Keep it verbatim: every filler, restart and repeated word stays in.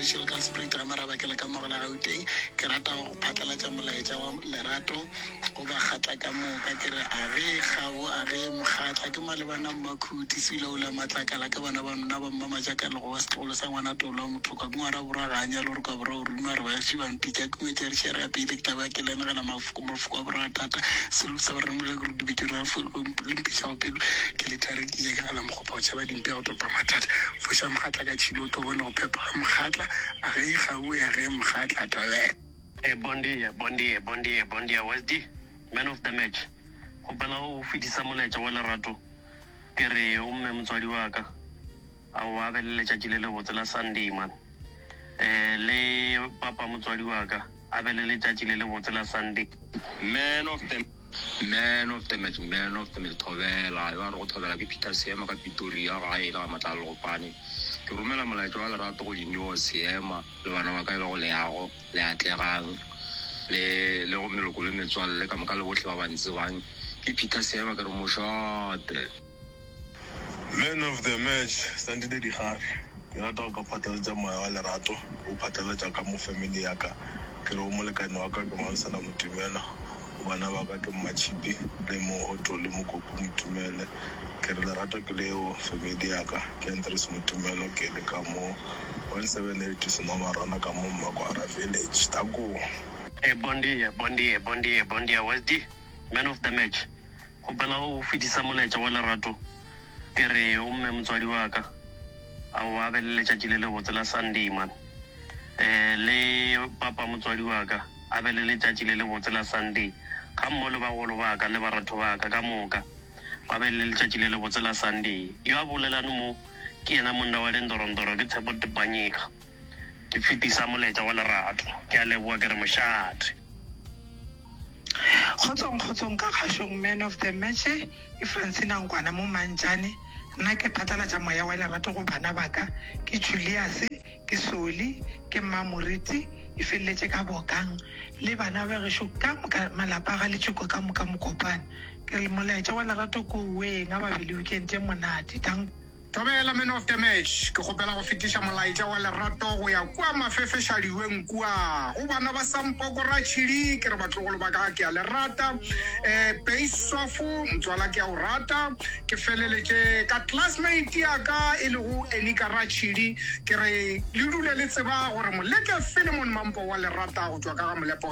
Michelle ka Spruit ga Marabakela ka Mogola Gauteng. Ke rata go phatlalatša molaetša wa lerato go bakgatla ka moka ke re a ge kgabo a ge mokgatla ke malebana mmakhuti seulaula matlakala ke bana ba nna ba mmamajakalo go wa setlogolo sa ngwana tolo wa mothoka ke ngwana borwa ga a nyale gore ka borwa o ruma re baši ba mpitša ke ngwetša re šere ya pele ke taba ke lenegela mafoko mafoko a borwa thata selo sa ba remole gore dibetše ra le mpiša go pelo ke le thare ke ke gala mokgopa o tšhaba dimpe go topa mathata foša mokgatla ka tšhilo o tlo bone go phepa ga mokgatla a ge kgabo ya ge mokgatla tobela Hey, bon dia, bon dia, bon dia, bon dia, Westy, man of the match. Kgopela o fetisa molaetša wa lerato. Ke re o mme motswadi wa ka. A o a be le letšatši le lebotse la Sunday man. Eh le papa motswadi wa ka a be le letšatši le lebotse la Sunday. Man of the man of the match man of the match thobela yo a re go thobela ke Peter Seema ka Pretoria gae le ga Matlala Legopane ke romela molaetša wa lerato go Dineo Seema le bana ba ka e le go Leago le Atlegang le le go meloko le metswalle ka moka le bohle ba ba ntsebang ke Peter Seema ke re mošate Man of the match Sandile Digare ke rata go ka phatlalatša moya wa lerato o phatlalatša ka mo family ya ka ke re o molekane wa ka ke Mansana Motumela o bana ba ka ke Mmatšhipi le Mohoto le Mokopu Motumele ke re lerato ke leo family ya ka ke Andres Motumelo ke le ka mo one seven eight Senomarana ka mo Mmakwara village tako Hey, bon dia, bon dia, bon dia, bon dia, Westy, man of the match. Kgopela o fetisa molaetša wa lerato. Ke re o mme motswadi wa ka. A o a be le letšatši le lebotse la Sunday man. Eh le papa motswadi wa ka a be le letšatši le lebotse la Sunday. Ga mmogo le bagolo ba ka le baratho ba ka ka moka ba be le letšatši le lebotse la Sunday. Yo a bolelane mo ke yena monna wa lendorondoro ke Tshepo Tepanyega. Ke fetisa molaetša wa lerato. Ke a leboha ke re mošate. Kgotsong kgotsong ka kgašong man of the match ke Francina Nkwana mo Mantšane nna ke phatlalatša moya wa lerato go bana ba ka ke Julius ke Soli ke Mmamoriti e feleletše ka Bokang le bana ba gešo ka moka malapa ga letšoko ka moka mokopane ke re molaetša wa lerato ko weng a ba be le weekend e monate thank Thobela man of the match ke kgopela go fetiša molaetša wa lerato go ya kua mafefešadiweng kua go bana ba Sampoko Ratšhidi ke re batlogolo ba ka ke a le rata um Beisofo motswala ke a o rata ke feleletše ka classmate ya ka e lego Enika Ratšhidi ke re le dule le tseba gore Moleke Philemon Mampo wa le rata go tšwa ka ga Molepo